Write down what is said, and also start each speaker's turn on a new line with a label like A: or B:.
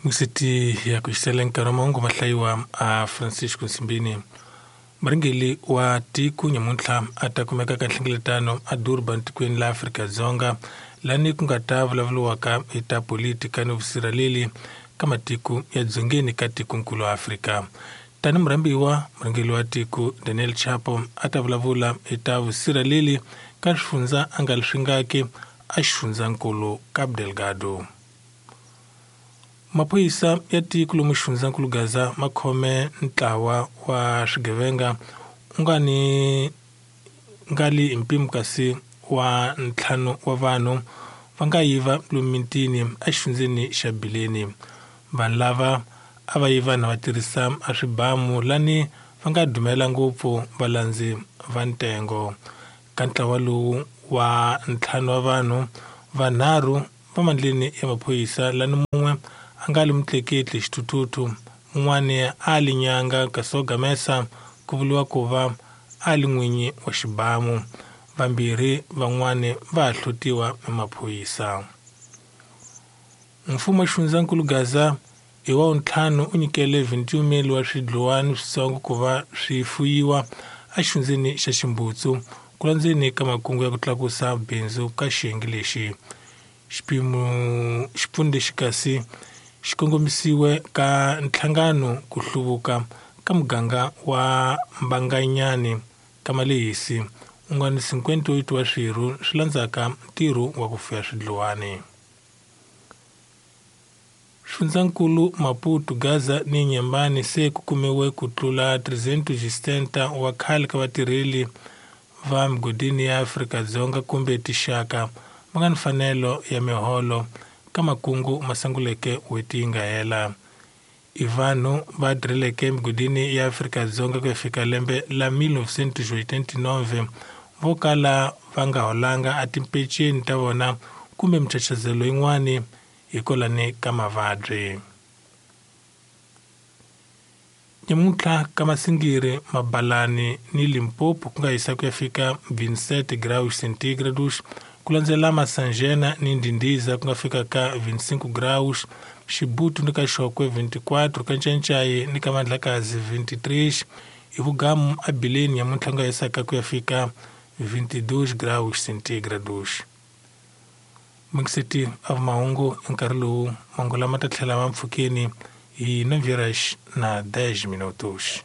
A: Misiti ya ku xisela nkarhi wa mahungu ma hlayiwa a Francisco Nsimbini. Murhangeri wa tiko nyamuntlha a ta kumeka ka nhlengeletano a Durban tikweni la Afrika-Dzonga lani ku nga ta vulavuriwaka hi ta politika ni vusirheleli ka matiko ya dzongeni ka tikonkulu Afrika. Tani murhambiwa murhangeri wa tiko Daniel Chapo a ta vulavula hi ta vusirheleli ka swifundza a nga swi a xifundzankulu Cabo Delgado. Maphorisa ya tiko lomu xifundzankulu Gaza ma khome ntlawa wa swigevenga u nga ni nga li hi mpimo kasi wa ntlhanu wa vanhu va nga yiva lomu mitini exifundzeni xa Bileni. Vanhu lava a va yiva na va tirhisa a swibamu lani va nga dumela ngopfu valandzi va ntengo. Ka ntlawa lowu wa ntlhanu wa vanhu vanharhu va mandleni ya maphorisa lani mun'we a nga li mutleketli xithuthuthu mun'wani a li nyanga kasi wo gamesa ku vuriwa ku va a li n'winyi wa xibamu vambirhi van'wani va ha hlotiwa hi maphorisa. Mfumo wa xifundzankulu Gaza hi wa ntlhanu u nyikele 21 wa swidluwani switsongo ku va swi fuyiwa exifundzeni xa Ximbutsu ku landzeni ka makungu ya ku tlakusa bindzu ka xiyenge lexi. Xipimo xipfuno lexi kasi xi kongomisiwe ka nhlangano ku hluvuka ka muganga wa Mbanganyani ka Malehisi u nga ni 58 wa swirho swi landzaka ntirho wa ku fuya swidluwani. Xifundzankulu Maputo, Gaza ni Nyembani se ku kumiwe ku tlula 360 wa khale ka vatirheli va migodini ya Afrika-Dzonga kumbe tixaka va nga ni mfanelo ya miholo ka makungu ma sunguleke n'hweti yi nga hela. I vanhu va tirheleke emigodini ya Afrika-Dzonga ku ya fika lembe la 1989 vo kala va nga holanga a timpeceni ta vona kumbe michachazelo yin'wani hikwalani ka mavabyi. Nyamuntlha ka Masingiri, Mabalani ni Limpopo ku nga hisa ku ya fika 27 graus centígrados ku landzela Masanjena ni Ndindiza ku nga fika ka 25 graus, Xibutu ni ka Xokwe 24, ka Ncancai ni ka Mandlakazi 23, hi vugamu a Bileni nyamuntlha ku nga hisaka ku ya fika 22 graus centígrados. Mixiti a mahungu hi nkarhi lowu mahungu lama ta tlhela ma mpfhukeni hi 9 horas na 10 minutos.